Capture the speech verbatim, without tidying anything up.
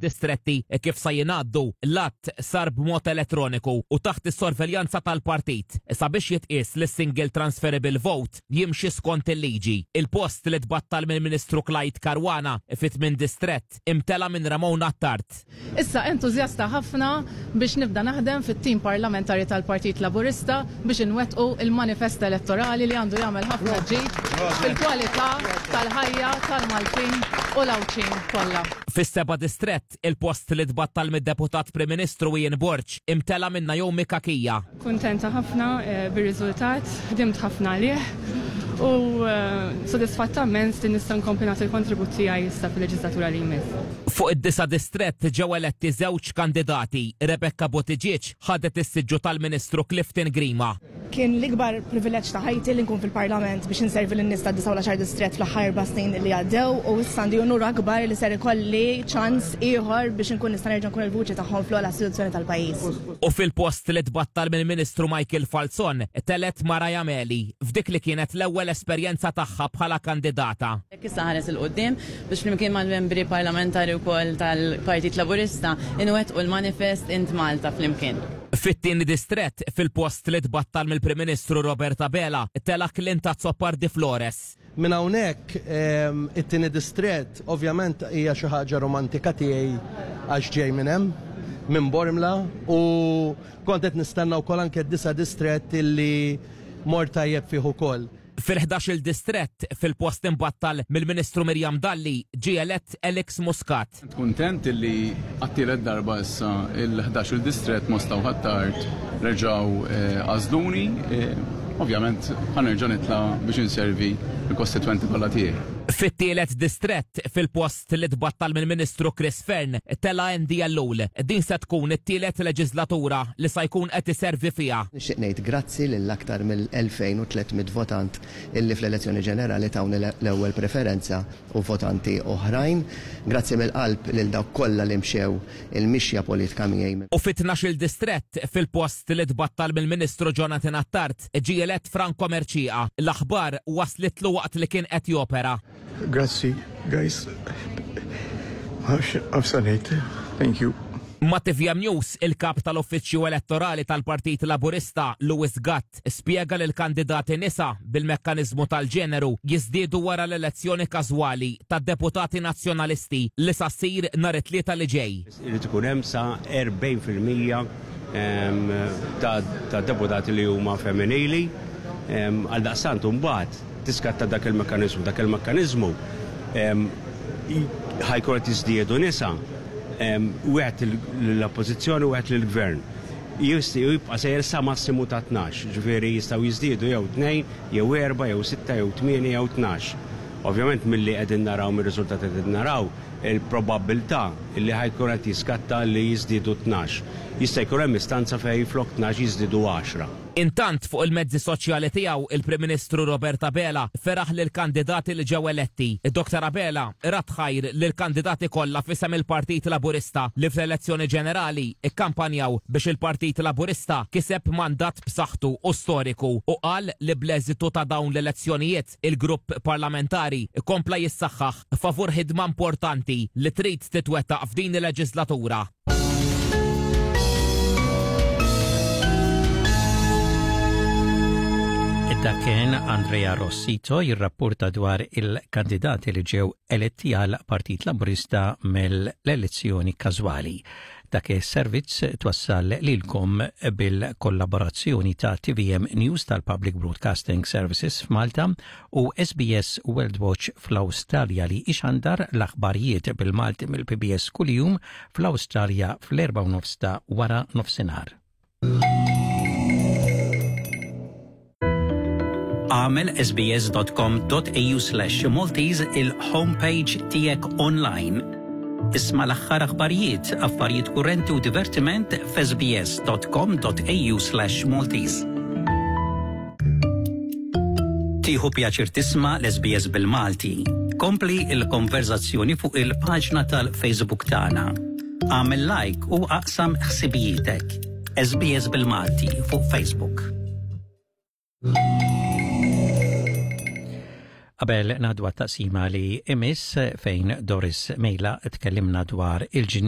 Distretti kif sa jingħaddu l-att sar b'mod elettroniku u taħt is-sorveljanza tal-partit sabiex jitqies li single transferable vote jimxi skont il-liġi. Il-post li tbattal mill-Ministru Clyde Caruana fit-tmien distrett imtela minn Ramon Attard. Issa entużjasta ħafna biex nibda naħdem fit-tim parlamentari tal-Partit Laburista biex inwettqu il-manifest elettorali li għandu jagħmel ħafna ġid fil-kwalità tal-ħajja tal-Maltin u l-Għawdxin kollha. Fis-seba' distrett, il-post li tbattal mid-deputat Prim Ministru Ian Borg imtela minn Naomi Cachia. Kuntenta ħafna eh, bir-riżultat, ħdimt ħafna għalih u eh, sodisfatta immens li nista' nkompli nagħti l-kontribut tiegħi issa fil-leġislatura li jmiss. Fuq id-disa' distrett ġew eletti żewġ kandidati. Rebecca Buttigieg ħadet is-siġġu tal-Ministru Clifton Grima. Kien l-ikbar privileġġ ta' ħajti li nkun fil-Parlament biex inservi lin-nies ta' disgħa distrett fl-aħħar erba' snin li għaddew u issa għandi unur akbar li ser ikolli ċans ieħor biex nkun nista' nerġa' nkun il-vuċi tagħhom fl-ogħla istituzzjoni tal-pajjiż. U fil-post li tbattal mill-Ministru Michael Falzon telgħet Mariah Meli f'dik li kienet l-ewwel esperjenza tagħha bħala kandidata. Issa nħares 'il quddiem biex flimkien mal-membri parlamentari wkoll tal-Partit Laburista inwettqu l-manifest Int Malta flimkien. Fit-tieni distrett, fil-post li tbattal mill-Prim Ministru Robert Abela, tela' Clint Azzopardi Flores. Minn hawnhekk it-tieni distrett ovvjament hija xi ħaġa romantika tiegħi għax ġej minn hemm, minn Bormla, u kont qed nistenna wkoll anke d-disa' distrett illi mort tajjeb fih ukoll. Fil-ħdax-il distrett, fil-post imbattal mill-Ministru Miriam Dalli, ġie elett Alex Muscat. Kuntent illi għat-tielet darba issa il-ħdax-il distrett Mosta u Ħ'Attard reġgħu għażluni. Ovvjament ħa nerġa' nitla' biex inservi l-kostitwenti kollha tiegħi. Fit-tielet distrett, fil-post li tbattal mill-Ministru Chris Fearne, tela' Andy Ellul. Din se tkun it-tielet leġislatura li sa jkun qed iservi fiha. Nixtieq ngħid grazzi lil aktar mill-elfejn u tliet mitt votant illi fl-elezzjoni ġenerali tawni l-ewwel preferenza u votanti oħrajn. Grazzi mill-qalb lil dawk kollha li mxew il-mixja politika miegħi. U fit-tnax-il distrett, fil-post li tbattal mill-Ministru Jonathan Attard, ġie elett Franco Mercieca. L-aħbar waslitlu waqt li kien qed jopera. Grazzi, guys. Għafsanejt. Thank you. Ma' T V M News, il-kap tal-Uffiċċju Elettorali tal-Partit Laburista, Louis Gatt, spjega li l-kandidati nisa bil-mekkanizmu tal-ġeneru jiżdiedu wara l-elezzjoni każwali tad-deputati nazzjonalisti li sa ssir nhar it-Tlieta li ġej. Irid ikun hemm sa erbgħin fil-mija ta' ta' deputati li huma femminili. Għal daqstant mbagħad tiskatta dak il-mekkaniżmu. Dak il-mekkaniżmu ħa jkun qed jiżdiedu nisa, wieħed l-oppożizzjoni u wieħed lill-gvern. Jibqa' sejjer sa massimu ta' tnax, ġifieri jistgħu jiżdiedu jew tnejn, jew erba', jew sitta, jew tmienja, jew tnax. Ovvjament milli qegħdin naraw, mir-riżultati qegħdin naraw, il-probabbiltà li ħa jkun qed jiskatta li jiżdiedu tnax. Jista' jkun hemm istanza fejn flok tnax jiżdiedu għaxra. Intant, fuq il-mezzi soċjali tiegħu, il-Prim Ministru Robert Abela feraħ lil kandidati li ġew eletti. Doktor Abela radd ħajr lil kandidati kollha f'isem il-Partit Laburista li fl-elezzjoni ġenerali ikkampanjaw biex il-Partit Laburista kiseb mandat b'saħħtu u storiku u qal li bl-eżitu ta' dawn l-elezzjonijiet il-grupp parlamentari kompla jissaħħaħ favur ħidma importanti li trid titwettaq f'din il-leġislatura. Dak kien Andrea Rossito jirrapporta dwar il-kandidati li ġew eletti għal Partit Laburista mill-elezzjoni każwali. Dak is-servizz twassal lilkom bil-kollaborazzjoni ta' T V M News tal-Public Broadcasting Services f'Malta u S B S World Watch fl-Awstralja li ixandar l-aħbarijiet bil-Malti mill-P B S kuljum fl-Awstralja fl-erba' nofs ta' wara nofsinhar. Agħmel S B S dot com dot A U slash Maltese il-homepage tiegħek online. Isma' l-aħħar aħbarijiet, affarijiet kurrenti u divertiment f'S B S dot com dot A U slash Maltese. Tieħu pjaċir tisma' l-S B S bil-Malti. Kompli il-konverzazzjoni fuq il-paġna tal-Facebook tagħna. Agħmel like u aqsam ħsibijietek. S B S bil-Malti fuq Facebook. Qabel ngħaddu taqsima li imiss fejn Doris Mejla tkellimna dwar il-ġnien.